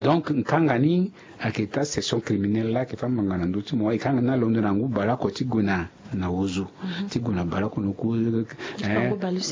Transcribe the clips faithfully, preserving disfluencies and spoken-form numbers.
Donc nkanga ni ayeke taa session criminelle laa ayeke fâ ngbanga na ndö ti mo. E kanga ni alondo na ngu baleoko ti gue na na ozo ti gue na baleoko na oku.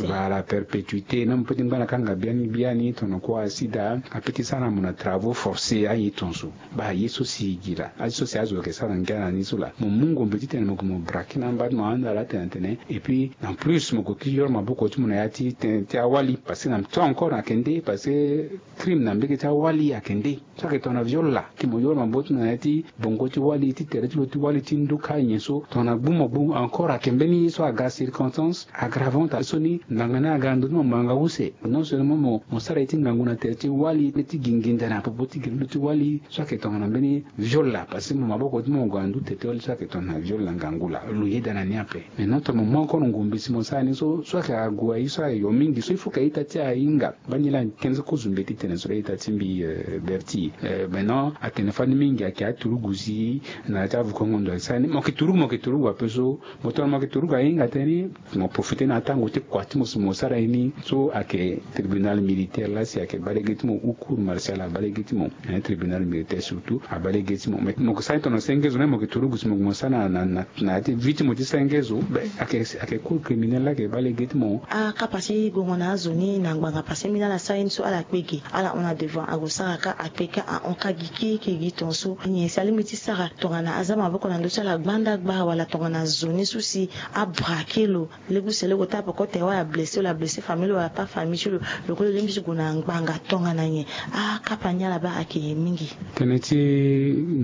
Voilà, perpétuité même pe ti ngba na kanga biani biani tongana kua asida ape ti sara na mo na travaux forcés aye tonso. Baa ye so si e gi laa aye so si azo ayeke sara ngia na ni so laa mo mu ngombe titene mo gue mo braquer na amba ti mo anda laa tene tene. Et puis en plus mo gue ki yoro maboko ti mo na ya ti tene ti awali parce que na temps encore ayeke nde parce que crime na mbege ti awali ayeke nde. So ayeke tongana viol laa ti mo yoro maboko ti mo na ya ti bongo ti wali ti tere ti lo ti wali ti nduka nyen so tongana gbu mo gbu encore ayeke mbeni ye so aga circonstance aggravante so ni ngbanga ni aga na ndö ti mo ngbanga use. Non seulement mo sara ye ti ngangu na tere ti wali ti gi nginda na popo ti gere ti lo ti wali so ayeke tongana mbeni viol laa parce que mo maboko ti mo mo gue na ndu tere ti wali so ayeke tongana viol na ngangu laa lo yeda na ni ape. Mais non tongana mo mu encore ngombe si mo sara ni so so ayeke ague aye so ayo mingi so il faut ka ita ti ahinga. Bani laa tënë so kozo mbi ye ti tene so laa ita ti mbi berti. Maintenant atene fani mingi ayeke aturugu si na ya ti avukongo ndo ayeke sara ni mo yeke turugu mo yeke turugu ape so. Mo tongana mo yeke turugu ahinga tënë ni mo profiter na atango ti kua ti mo si mo sara ye ni so ayeke tribunal militaire laa si ayeke baa lege ti mo ou cour martiale abaa lege ti mo. Tribunal militaire surtout abaa lege ti mo mais mo yeke sara ni tongana senge zo ni mo yeke turugu si mo yeke mo sara na na na ya ti vie ti mo ti senge zo. Ayeke cour criminelle laa ayeke baa lege ti mo. Akapa ti gongo na azo ni na ngbanga parce que mbi na ala sara ye ni so ala kpe ge ala hon na devant ague sara ka akpe ka ahon ka gi keke gi tonso nyen si alingbi ti sara tongana aza maboko na ndö ti ala gbanda gba wala tongana zo ni so si abrake lo lege use lege ota peko tere wala blessé wala blessé famille lo wala pas famille ti lo. Lo kue lo lingbi ti gue na ngbanga tongana nyen? Akapa ni ala baa ayeke mingi. Tënë ti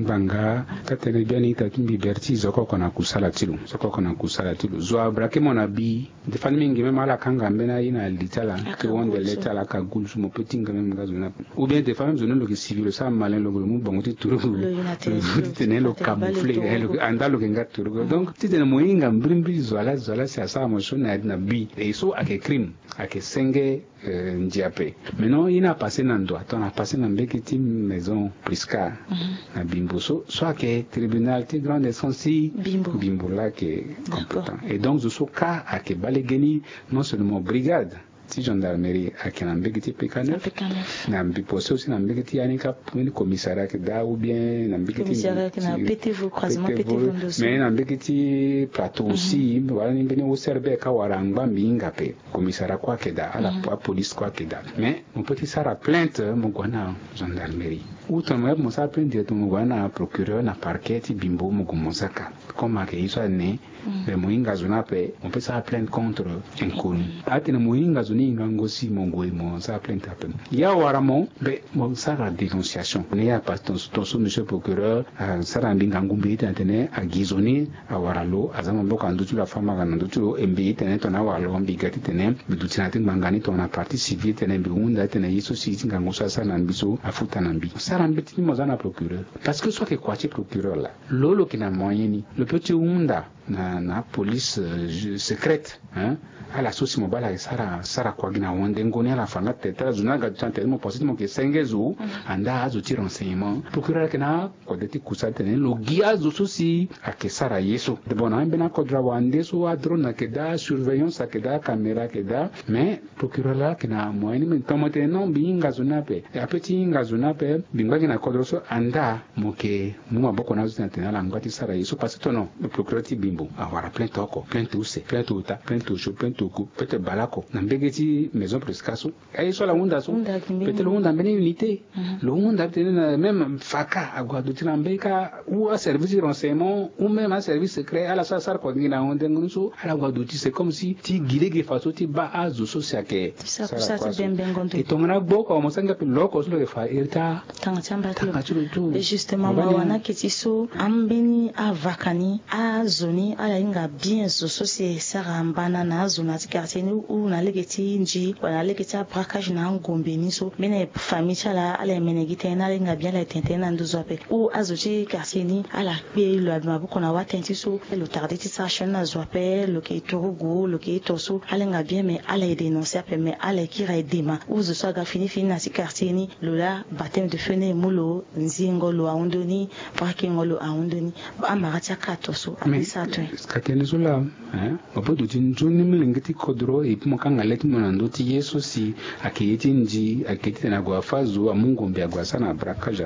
ngbanga ka tënë biani ita ti mbi berti zo koko na kusala ti lo zo koko na kusala ti lo zo abrake mo na bi. Nde fani mingi même ala kanga mbeni aye na li ti ala ti wonde le ti ala aka gulu so mo pe ti hinga même nga zo ni ape. Ou bien des fois même zo ni lo yeke suivi lo sara malin lo lo mu bango ti turugu lo ti tene lo camoufler. Anda lo yeke nga turugu donc ti tene mo hinga mbirimbiri zo ala zo ala si asara mo so na ya ti na bi e so ayeke crime ayeke senge. Ndia ape. Maintenant ye ni apase na ndo ato na apase na mbege ti maison prisca na bimbo so so ayeke tribunal ti grande essence ti bimbo laa ayeke compétent. Et donc zo so ka ayeke baa lege ni non seulement brigade ti gendarmerie ayeke na mbege ti pk neuf na mbi pose aussi na mbege ti ya ni ka mbeni commissariat ayeke daa ou bien na mbege ti ptv mais na mbege ti plateau aussi wala ni mbeni ocrb ka wara angba mbi hinga ape. Commissariat kue ayeke daa ala apolice kue ayeke daa. Mais mo pe ti sara plainte mo gue na gendarmerie ou tongana mo yeke mo sara plainte directement mo gue na procureur na parquet ti bimbo mo gue mo saka. Comme ayeke ye so ane mbe mo hinga zo ni ape mo pe sara plainte contre inconnu. Atene mo hinga zo ni hingango si mo gue mo sara plainte ape. Ye awara mo mbe mo sara dénonciation ni ye apasse ton so monsieur procureur asara na mbi ngangu mbi ye ti na tene agi zo ni awara lo aza maboko na ndö ti lo afa manga na ndö ti lo e mbi ye ti tene tongana awara lo mbi ga ti tene mbi duti na ya ti ngbanga ni tongana partie civile ti tene mbi hunda ti tene ye so si ti ngangu so asara na mbi so afuta na mbi. Sara mbeti ni mo za na procureur. Parce que so ayeke kua ti procureur laa lo lo yeke na moyen ni lo pe ti hunda na na apolice secrète. Ala so si mo baa ala yeke sara sara kua gi na wande ngo ni ala fa nga tere ti ala zo ni aga duti na tere ti mo pense ti mo yeke senge zo anda azo ti renseignement procureur ayeke na akode ti kusa ti tene lo gi azo so si ayeke sara ye so. Bon na ambeni akodro awande so adrone ayeke daa asurveillance ayeke daa acaméra ayeke daa. Mais procureur laa ayeke na moyen ni mbi tongana mo tene non mbi hinga zo ni ape ape ti hinga zo ni ape mbi ngba gi na kodro so anda mo yeke mu maboko na azo ti na tene ala ngba ti sara ye so parce que tono procureur ti bimbo awara plainte oko plainte use plainte ota plainte osio plainte oku plainte baleoko na mbege ti maison presca so. Aye so ala hunda so. Peut-être lo hunda mbeni unité lo hunda tene na même faka ague aduti na mbeni ka ou aservice ti renseignement ou même aservice secret ala so asara kua gi na honde ngo ni so ala gue aduti c'est comme si ti gi lege façon ti baa azo so si ayeke sara kua so. E tongana agbo oko mo sara ngia pe lo oko so lo yeke fa iri ti atanga ti amba ti lo. Justement mawa na ake ti so ambeni avaka ni azo ni ala hinga bien zo so si e sara mbana na azo na ya ti quartier ni ou na lege ti nji wala na lege ti abraquage na angombe ni so mbeni famille ti ala ala yemene gi tënë ni ala hinga bien ala yetene tënë ni na nduzu ape ou azo ti quartier ni ala kpe lo abi maboko na watënë ti so lo tarde ti sara sioni na zo ape lo yeke turugu lo yeke ito so ala hinga bien mais ala ye dénoncer ape mais ala ye kiri aye dema ou zo so aga fini fini na ya ti quartier ni lo laa baptême de feu. Tënë e mu lo, nzingo lo ahundu ni, parakingo lo ahundu ni. Amara ti akato so ape sa tue. Ka tënë so laa, eh, mo peut duti nzoni molenge ti kodro, et puis mo kanga le ti mo na ndö ti ye so si ayeke ye ti ndi, ayeke ye ti tene ague afâ zo, amu ngombe ague asara na braquage.